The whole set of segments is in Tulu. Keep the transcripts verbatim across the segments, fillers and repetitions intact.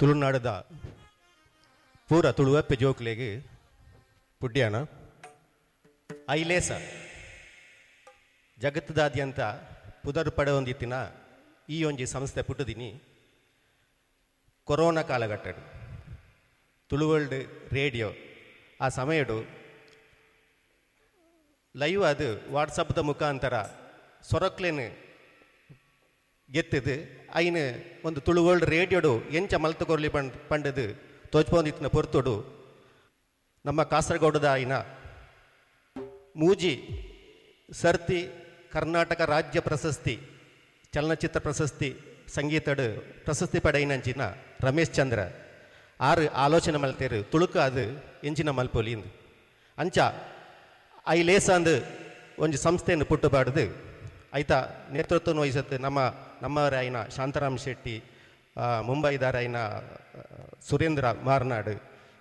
ತುಳುನಾಡದ ಪೂರ ತುಳುವಪ್ಪೆ ಜೋಕ್ಲೆಗ್ ಪುಡ್ಯಾಣ ಐಲೇಸ ಜಗತ್ತದಾದ್ಯಂತ ಪುದರ್ ಪಡೆಯೊಂದಿತ್ತಿನ ಈ ಒಂಜಿ ಸಂಸ್ಥೆ ಪುಟ್ಟುದಿನಿ ಕೊರೋನಾ ಕಾಲಘಟ್ಟಡು ತುಳುವರ್ಲ್ಡ್ ರೇಡಿಯೋ ಆ ಸಮಯಡು ಲೈವ್ ಅದು ವಾಟ್ಸಪ್ದ ಮುಖಾಂತರ ಸೊರಕ್ಲೆನ್ ಗೆತ್ತದು ಐನು ಒಂದು ತುಳುವರ್ಲ್ಡ್ ರೇಡಿಯೋಡು ಎಂಚ ಮಲ್ತು ಕೊರ್ಲಿ ಪಂಡ್ ಪಂಡದು ತೋಚ್ಪೊಂದಿತ್ತಿನ ಪೊರ್ತುಡು ನಮ್ಮ ಕಾಸರಗೋಡದ ಐನ ಮೂಜಿ ಸರ್ತಿ ಕರ್ನಾಟಕ ರಾಜ್ಯ ಪ್ರಶಸ್ತಿ ಚಲನಚಿತ್ರ ಪ್ರಶಸ್ತಿ ಸಂಗೀತಡು ಪ್ರಶಸ್ತಿ ಪಡೆಯಿನಂಚಿನ ರಮೇಶ್ ಚಂದ್ರ ಆರು ಆಲೋಚನೆ ಮಲ್ತೇರು ತುಳುಕು ಅದು ಎಂಚಿನ ಮಲ್ಪೊಲಿ ಇಂದು ಅಂಚ ಐಲೇಸಂದು ಒಂಜಿ ಸಂಸ್ಥೆಯನ್ನು ಪುಟ್ಟುಪಾಡ್ದು ಐತ ನೇತೃತ್ವ ವಹಿಸತ್ತು ನಮ್ಮ ನಮ್ಮವರಾಯಿನ ಶಾಂತಾರಾಮ್ ಶೆಟ್ಟಿ, ಮುಂಬೈದಾರಾಯಿನ ಸುರೇಂದ್ರ ಮಾರ್ನಾಡು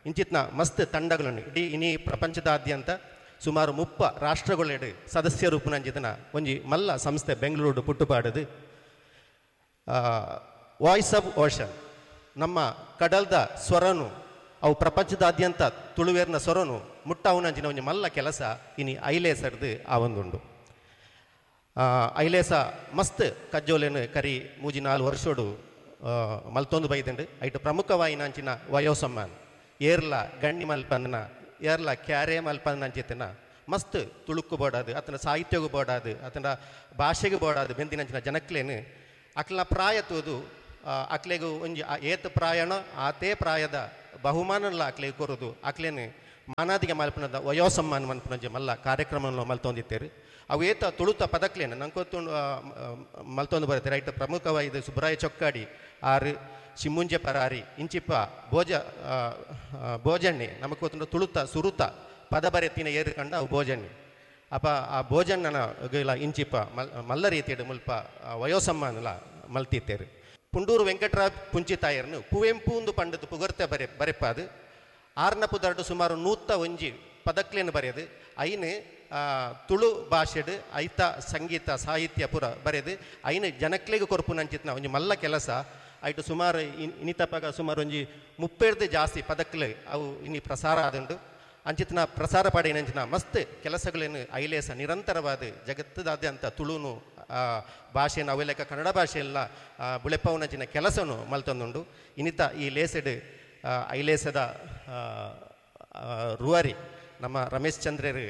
ಇಂಚಿತ್ನ ಮಸ್ತ್ ತಂಡಗಳನ್ನು ಇಡೀ ಇನಿ ಪ್ರಪಂಚದಾದ್ಯಂತ ಸುಮಾರು ಮುಪ್ಪ ರಾಷ್ಟ್ರಗಳೆಡು ಸದಸ್ಯ ರೂಪನಂಚಿತನ ಒಂಜಿ ಮಲ್ಲ ಸಂಸ್ಥೆ ಬೆಂಗಳೂರು ಪುಟ್ಟುಪಾಡದು. ವಾಯ್ಸ್ ಆಫ್ ಓಷನ್ ನಮ್ಮ ಕಡಲ್ದ ಸ್ವರನು ಅವು ಪ್ರಪಂಚದಾದ್ಯಂತ ತುಳುವೇರ್ನ ಸ್ವರನು ಮುಟ್ಟಾವುನಂಚಿನ ಒಂಜಿ ಮಲ್ಲ ಕೆಲಸ ಇನಿ ಐಲೇಸರ್ದು ಆ ಒಂದುಂಡು. ಐಲೇಸ ಮಸ್ತ್ ಕಜ್ಜೋಲೆನು ಕರಿ ಮೂಜಿ ನಾಲ್ ವರ್ಷೋಡು ಮಲ್ತೊಂದು ಬೈದಂಡು. ಐಟು ಪ್ರಮುಖವಾಯಿನಂಚಿನ ವಯೋಸಮ್ಮಾನ್ ಏರ್ಲ ಗಣ್ಣಿ ಮಲ್ಪಂದನ ಏರ್ಲ ಕ್ಯಾರೆ ಮಲ್ಪಂದನಂಚಿತನ ಮಸ್ತ್ ತುಳುಕು ಬೋಡಾದು ಆತನ ಸಾಹಿತ್ಯಗೂ ಬೋಡಾದು ಆತನ ಭಾಷೆಗೂ ಬೋಡಾದು ಬೆಂದಿನಂಚಿನ ಜನಕ್ಲೇನು ಅಕ್ಲ ಪ್ರಾಯ ತೂದು ಅಕ್ಲೆಗು ಒಂಜಿ ಏತ್ ಪ್ರಾಯಣ ಆತೇ ಪ್ರಾಯದ ಬಹುಮಾನಲ್ಲ ಅಕ್ಲೆಗೆ ಕೊರೋದು ಅಕ್ಲೇನು ಮಾನಾದಿಗೆ ಮಲ್ಪನದ ವಯೋಸಮ್ಮಾನ ಮನ್ಪನಂಜಿ ಮಲ್ಲ ಕಾರ್ಯಕ್ರಮವನ್ನು ಮಲ್ತೊಂದಿತ್ತೇರು. ಅವು ಏತ ತುಳುತ ಪದಕ್ಲೇನು ನಂಗೆ ಮಲ್ತೊಂದು ಬರುತ್ತೆ ರೈಟ್. ಪ್ರಮುಖವಾದ ಸುಬ್ರಾಯ ಚೊಕ್ಕಾಡಿ ಆರು ಶಿಮುಂಜೆ ಪರಾರಿ ಇಂಚಿಪ್ಪ ಭೋಜ ಭೋಜಣ್ಣೆ ನಮಗೆ ಗೊತ್ತುಂಡು ತುಳುತ ಸುರುತ ಪದ ಬರೆತಿನ ಏರು ಕಂಡ ಅವು ಭೋಜಣ್ಣೆ. ಅಪ್ಪ ಆ ಭೋಜಣ್ಣನ ಇಲ್ಲ ಇಂಚಿಪ್ಪ ಮಲ್ ಮಲ್ಲ ರೀತಿಯಡು ಮುಲ್ಪ ವಯೋಸಮ್ಮಾನಲ ಮಲ್ತಿತ್ತೇರು. ಪುಂಡೂರು ವೆಂಕಟರಾವ್ ಪುಂಚಿತಾಯರ್ನು ಕುವೆಂಪು ಒಂದು ಪಂಡದು ಪುಗರ್ತೆ ಬರೆ ಬರೆಪಾದು ಆರ್ನ ಪುದರ್ಡು ಸುಮಾರು ನೂತ ಒಂಜಿ ಪದಕ್ಲೇನು ಬರೆಯದು ಐನು ತುಳು ಭಾಷೆಡು ಐತ ಸಂಗೀತ ಸಾಹಿತ್ಯ ಪುರ ಬರೆದು ಐನು ಜನಕ್ಲೆಗ್ ಕೊರ್ಪುನಂಚಿತ್ನ ಒಂಜಿ ಮಲ್ಲ ಕೆಲಸ ಐಟು ಸುಮಾರು ಇನಿತಪಗ ಸುಮಾರು ಒಂಜಿ ಮುಪ್ಪೇರ್ದು ಜಾಸ್ತಿ ಪದಕ್ಲೆ ಅವು ಇನಿ ಪ್ರಸಾರ ಆದುಂಡು. ಅಂಚಿತ್ನ ಪ್ರಸಾರ ಪಡೆಯಿನಂಚಿನ ಮಸ್ತ್ ಕೆಲಸಗಳೇನು ಐಲೇಸ ನಿರಂತರವಾದ ಜಗತ್ತದಾದ್ಯಂತ ತುಳುನು ಭಾಷೆನ ಅವೆಲೆಕ್ಕ ಕನ್ನಡ ಭಾಷೆಯೆಲ್ಲ ಬುಳೆಪವನಂಚಿನ ಕೆಲಸನು ಮಲ್ತೊಂದುಂಡು. ಇನ್ನಿತ ಈ ಲೇಸೆಡ್ ಐಲೇಸದ ರೂವಾರಿ ನಮ್ಮ ರಮೇಶ್ ಚಂದ್ರರು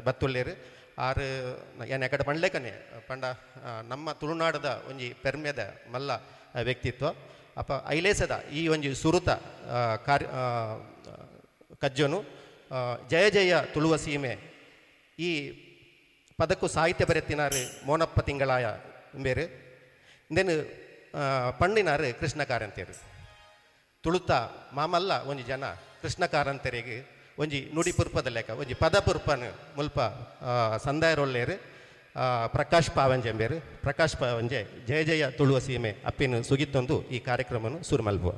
ಬತ್ತುಳ್ಳೇರು ಆರು ಏನು ಎಕಡೆ ಪಂಡ್ಲೇಕನೆ ಪಂಡ ನಮ್ಮ ತುಳುನಾಡದ ಒಂಜಿ ಪೆರ್ಮೆದ ಮಲ್ಲ ವ್ಯಕ್ತಿತ್ವ. ಅಪ್ಪ ಐಲೇಸದ ಈ ಒಂಜಿ ಸುರುತ ಕಾರ್ಯ ಕಜ್ಜನು ಜಯ ಜಯ ತುಳುವ ಸೀಮೆ ಈ ಪದಕ್ಕೂ ಸಾಹಿತ್ಯ ಬರೆತಿನಾರು ಮೋನಪ್ಪ ತಿಂಗಳಾಯ ಬೇರೆ ಇಂದೇನು ಪಣ್ಣಿನಾರು ಕೃಷ್ಣ ಕಾರಂತೇರು. ತುಳುತ ಮಾಮಲ್ಲ ಒಂಜಿ ಜನ ಕೃಷ್ಣ ಕಾರಂತರಿಗೆ ಒಂಜಿ ನುಡಿ ಪುರ್ಪದ ಲೆಕ್ಕ ಒಂಜಿ ಪದ ಪುರ್ಪನು ಮುಲ್ಪ ಸಂದಾಯರೊಳ್ಳೇರು ಪ್ರಕಾಶ್ ಪಾವಂಜೆ ಎಂಬೇರು. ಪ್ರಕಾಶ್ ಪಾವಂಜೆ ಜಯ ಜಯ ತುಳುವ ಸೀಮೆ ಅಪ್ಪಿನ ಸುಗಿತ್ತೊಂದು ಈ ಕಾರ್ಯಕ್ರಮವನ್ನು ಸುರು ಮಲ್ಪುವ.